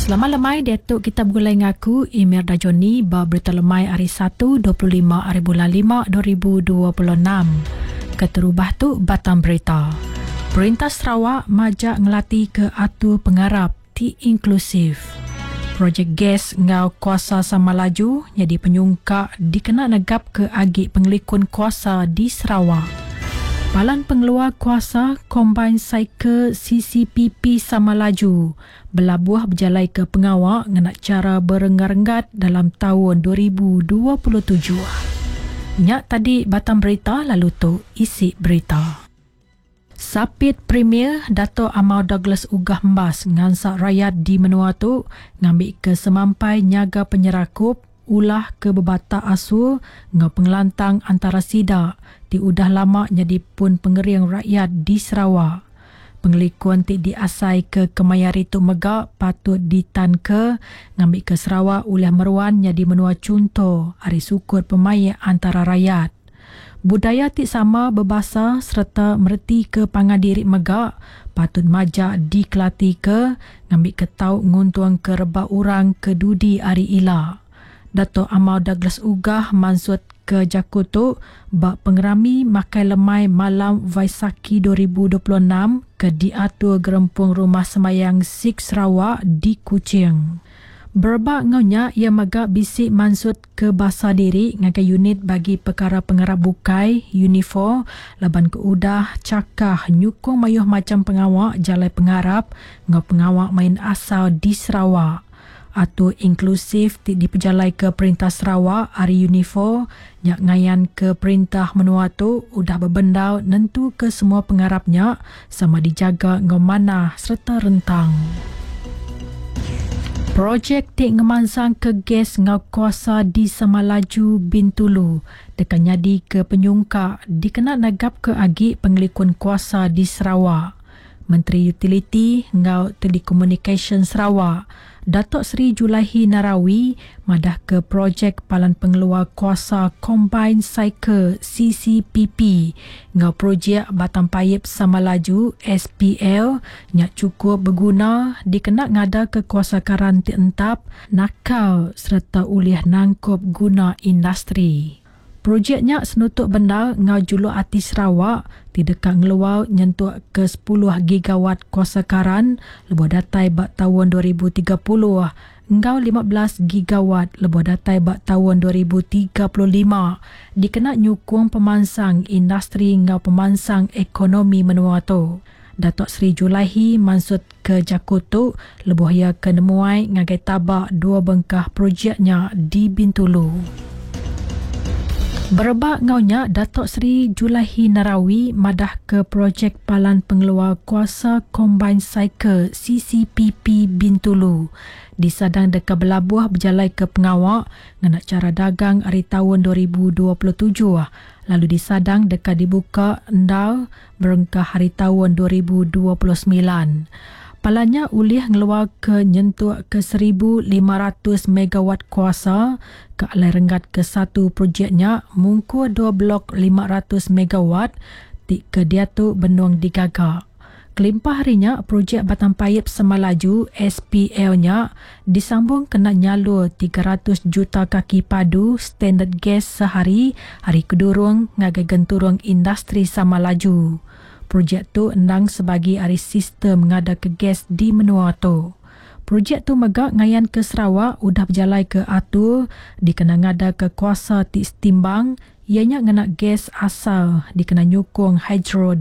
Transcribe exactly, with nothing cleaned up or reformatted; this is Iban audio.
Selamat lemai diatu kita begulai ngaku Emir Dajoni ba berita lemai hari satu dua puluh lima hari bulan lima dua ribu dua puluh enam. Keterubah tu batang berita. Perintah Sarawak majak ngelati ke atur pengarap ti inklusif. Projek gas ngau kuasa sama laju jadi penyungkak dikena negap ke agi pengelikun kuasa di Sarawak. Palan pengeluar kuasa Combined Cycle C C P P sama laju belabuh berjalai ke pengawak ngena cara berenggat-renggat dalam tahun dua ribu dua puluh tujuh. Nyak tadi batang berita lalu tu isi berita. Sapit Premier Dato' Amar Douglas Uggah Embas ngansak rakyat di menua tu ngambil ke semampai nyaga penyerakup ulah ke bebatak asur ngau pengelantang antara sida ti udah lama jadi pun pengering rakyat di Sarawak. Pengelikuan ti diasai ke kemayari tu mega patut ditan ke ngambil ke Sarawak ulah meruan jadi menua contoh ari sukut pemaik antara rakyat. Budaya ti sama berbahasa serta mereti ke pangan diri mega patut majak dikelati ke ngambil ke tau nguntung ke rebak orang ke dudi ari ila. Dato' Amar Douglas Uggah mansut ke jaku tu bak pengerami makai lemai malam Vaisakhi dua ribu dua puluh enam ke diatur Gerempung Rumah Semayang Sikh Sarawak di Kuching. Berebak ngaunya ia mega bisik mansut ke basa diri ngagai unit bagi perkara pengarap bukai Unifor laban ke udah cakah nyukung mayuh macam pengawak jalai pengarap ngau pengawak main asal di Sarawak. Atur inklusif ti dipejalai ke Perintah Sarawak ari Unifor nyak ngayan ke perintah menua tu udah berbendar nentu ke semua pengarapnya sama dijaga ngau manah serta rentang. Projek ti ngemansang ke gas ngau kuasa di Samalaju Bintulu deka nyadi ke penyungkak dikena negap ke agi pengelikun kuasa di Sarawak. Menteri Utiliti ngau Telekomunikasyen Sarawak, Datuk Seri Julaihi Narawi madah ke projek Palan Pengeluar Kuasa Combined Cycle C C P P ngau projek Batang Paip Samalaju S P L nyak cukup berguna dikena ngada ke kuasa karan ti entap, nakal serta ulih nangkup guna industri. Projeknya senutuk benda ngau juluk ati Sarawak tidak ngeluar nyentuk ke sepuluh gigawatt kuasa karan lebuh datai bak tahun dua ribu tiga puluh ngau lima belas gigawatt lebuh datai bak tahun dua ribu tiga puluh lima dikena nyukung pemansang industri ngau pemansang ekonomi menua tu. Datuk Seri Julaihi mansut ke jaku tu lebuh ia ke nemuai ngagai tabak dua bengkah projeknya di Bintulu. Berebak ngaunya Datuk Seri Julaihi Narawi madah ke projek Palan Pengeluar Kuasa Combined Cycle C C P P Bintulu disadang deka belabuh berjalai ke pengawak ngena cara dagang hari tahun dua ribu dua puluh tujuh lalu disadang deka dibuka endal berengkah hari tahun dua ribu dua puluh sembilan. Palanya ulih ngeluar ke nyentuk ke seribu lima ratus megawatt kuasa ke alai renggat ke satu projeknya mungkur dua blok lima ratus megawatt ti ke diatu benung digaga. Kelimpah harinya projek Batang Paip Samalaju S P L-nya disambung kena nyalur tiga ratus juta kaki padu standard gas sehari hari kedurung ngagai genturung industri Samalaju. Projek tu endang sebagi ari sistem ngada ke gas di menua tu. Projek tu mega ngayan ke Sarawak udah berjalai ke atur dikena ngada ke kuasa ti setimbang ianya ngena gas asal dikena nyukung hidro